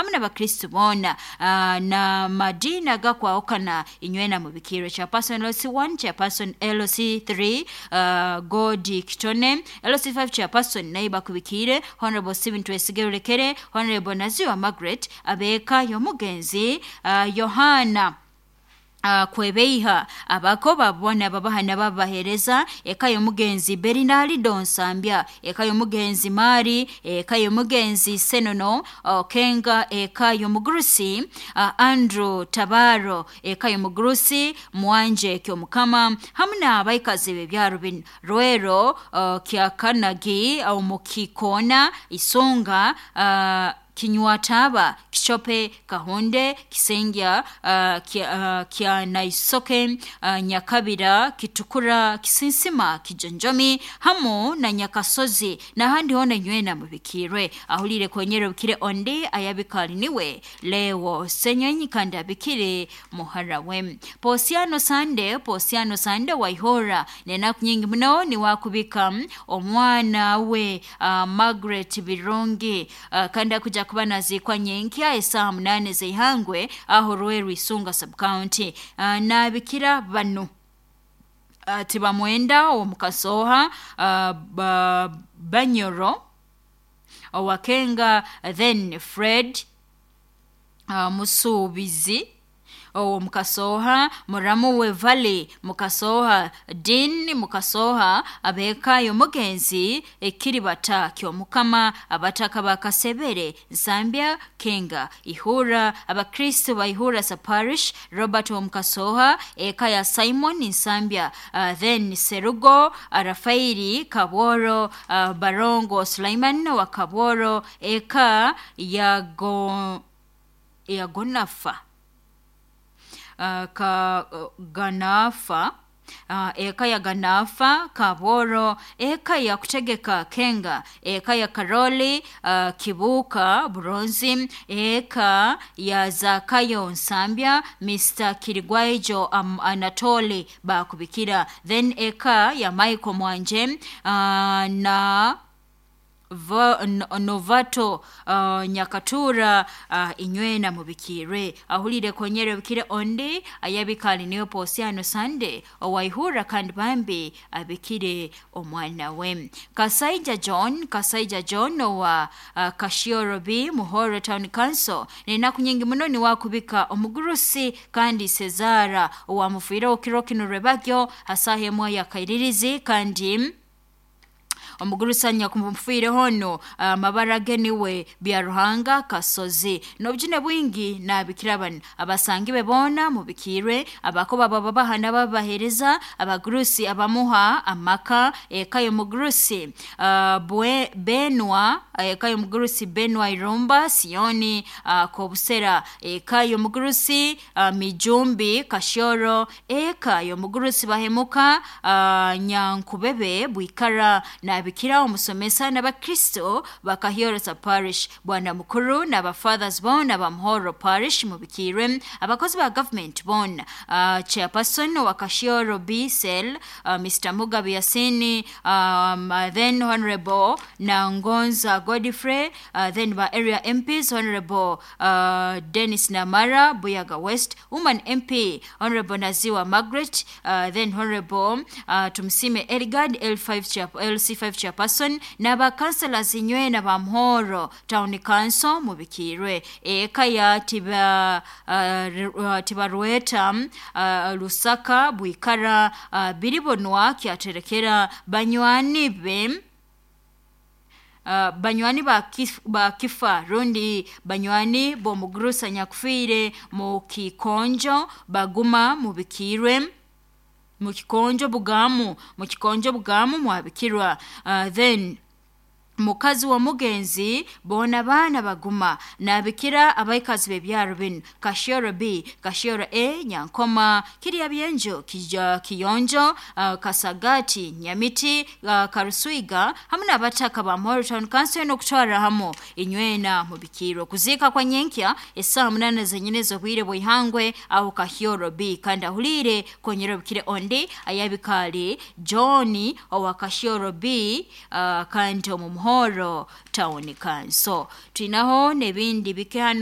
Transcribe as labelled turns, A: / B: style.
A: Hamu n'abakristu boona na madiini agakwahukana, inywena mubikirwe. Chairperson LC1, Chairperson LC3, Godi Kitone, LC5 Chairperson naye bakubikire Honorable Stephen Twesige Rulekere, Honorable Naziwa Margaret, abeeka y'omugenzi Yohana Kwebeiha, abako babona babaha nababahereza, eka y'omugenzi Bernardo Nsambya, eka y'omugenzi Mari, eka y'omugenzi Senono Kenga, eka y'omugurusi Andrew Tabaro, eka y'omugurusi Mwanje Kyomukama, hamu n'abaikazi b'ebyaro binu: Rwero, Kyakanagi, Omukikona, Isunga, Kinywataba, Kichope, Kahonde, Kisengya, Kyanaisoke, Nyakabira, Kitukura, Kisinsima, Kijonjomi, hamu na Nyakasozi, n'ahandi hoona inywena mubikirwe. Ahuliire konyera obikire ondi ayabikali niwe Leo Senyonyi kandi abikire muhara we Posiano Sande. Posiano Sande Waihora nenaku nyingi muno niwakubika omwana we Margaret Birungi, kandi akuja kuba naziikwa nyenkya esaaha 8 z'eihangwe aho Rweru Isunga subcounty. Nabikira banu: Tibamwenda omukasoha, Banyoro Owakenga, then Fred Musuubizi omukasoha, muramu we Valley Mukasoha, Dean Mukasoha, abeeka y'omugenzi Ekiribata Kyomukama, abataka ba Kasebere, Nsambya, Kenga, Ihura, abakristo ba Ihura Parish, Robert Omukasoha, eka ya Simon Nsambya, then Serugo Rafairi Kabworo, Barongo Sulaiman wa Kabworo, eka ya go ya Gonafa, ka Ganafa, eka ya Ganafa Kabworo, eka ya Kutegeka Kenga, eka ya Karoli Kibuka Buronzi, eka ya Zakayo Nsambya, Mr Kirigwaijo Anatoli bakubikira, then eka ya Michael Mwanje na Novato Nyakatura, inywena mubikire. Ahulire konyere bikire ondi ayabikali niyo Posiano Sande owaihura kandi bambi abikire omwana we Kasaija John. Kasaija John owa Kashioro B Muhoro Town Council nenaku nyingi muno niwakubika omugurusi kandi Cesara owamufiireho kiro kino rwebagyo hasaha emwe yakairirizi, kandi omugurusanya kumufwireho no amabara ge niwe Byaruhanga Kasozi n'obujune bwingi. Nabikira bano: abasangi be boona mubikirwe, abako baba babaha n'ababahereza, abagurusi abamuha amaka, eka y'omugurusi Benwa, eka y'omugurusi Benwa Irumba Sioni, Kobusera, eka y'omugurusi Mijumbi Kashoro, eka y'omugurusi Bahemuka Nyankubebe Bwikara. Nabikira omusomesa n'abakristo bakahiorosa Parish, bwana mukuru n'abafathers boona bamuhoro Parish mubikirwe, abakozi ba government boona, Chairperson wa Kashioro B Cell, Mr Mugabe Yasini, then Honorable Nangonza Godfrey, then ba area MPs Honorable Dennis Namara Buyaga West, Woman MP Honorable Naziwa Margaret, then Honorable Tumsime Eligard L5 LC5 Chairperson, n'abakanselazi inywena ba Muhoro Town Council mubikirwe, eka ya Tibarueta Lusaka Bwikara, Biribonwa Kyaterekera, banywani be, banywani ba kifa rundi banywani b'omugurusa nyakufiire mu kikonjo baguma mubikirwe, mu kikonjo bugamu, mu kikonjo bugamu mwabikirwa, then mukazi wa mugenzi boona baana baguma. Nabikira abaikazi b'ebyaro binu: Kashioro B, Kashioro A, Nyankoma, Kirya Byenjo, Kiyonjo, Kasagati, Nyamiti, Karuswiga, hamu n'abataka ba Muhoro Town Council n'okutwara hamu inywena mubikirwe. Kuziika kwa nyenkya esaaha 8 zenyine z'obwire bw'ihangwe aho Kahioro B, kandi ahuliire konyera obukire ondi ayabikali John owa Kashioro B, kandi omu Muhoro Town Council. Twinaho n'ebindi bike hano.